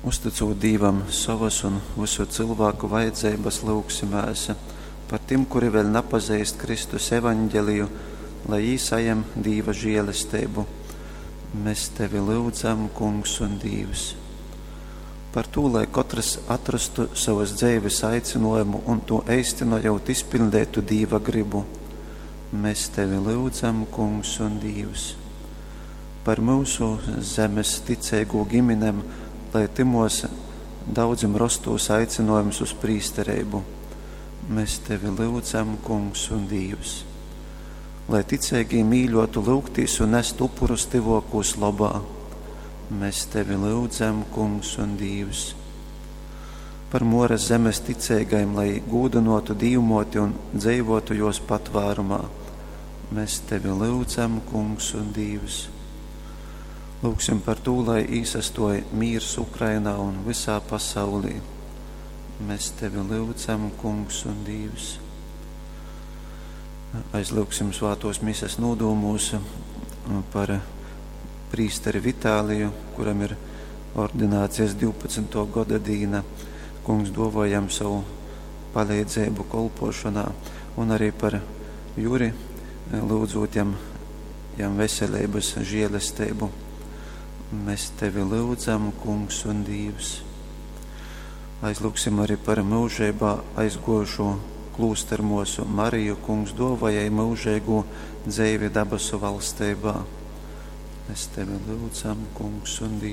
Uztycūt Dīvam sovas un vysu cylvāku vajadzeibas, lyugsimēs par tim, kuri vēļ napazeist Kristus evaņgeliju, lai jī sajem Dīva žēlesteibu. Mēs tevi lyudzam, Kungs un Dīvs. Par tū, lai kotrs atrastu savas dzeives aicinājumu un to eistynojot izpildētu Dīva gribu. Mēs tevi lyudzam, Kungs un Dīvs. Par mūsu zemes ticīgo ģimenēm, lai timos daudzim rostūs aicinājums uz prīstereibu. Mēs tevi lyudzam, Kungs un Dīvs. Lai ticīgī mīļotu lūgtīs un nest upurus tyvokūs labā. Mēs tevi lyudzam, Kungs un Dīvs. Par Moras zemes ticīgajiem, lai gūdinotu Dīvmoti un dzeivotu jos patvērumā. Mēs tevi lyudzam, Kungs un Dīvs. Lūgsim par to, lai īsastoja mīrs Ukrainā un visā pasaulī. Mēs tevi lyudzam, Kungs un Dīvs. Aizlūgsim svātos mises nodūmūs par prīsteri Vitāliju, kuram ir ordinācijas 12. gada dīna. Kungs dovojam savu palīdzību kolpošanā un arī par Juri, lūdzot jam, jam veselības žēlestību. Mēs tevi lūdzam, Kungs un Dīvs. Aizlūgsim arī par mūžībā aizgojušo klūstermosu Mariju, Kungs dovajai mūžīgo dzeivi dabasu valstībā. Mēs tevi lūdzam, Kungs un Dīvs.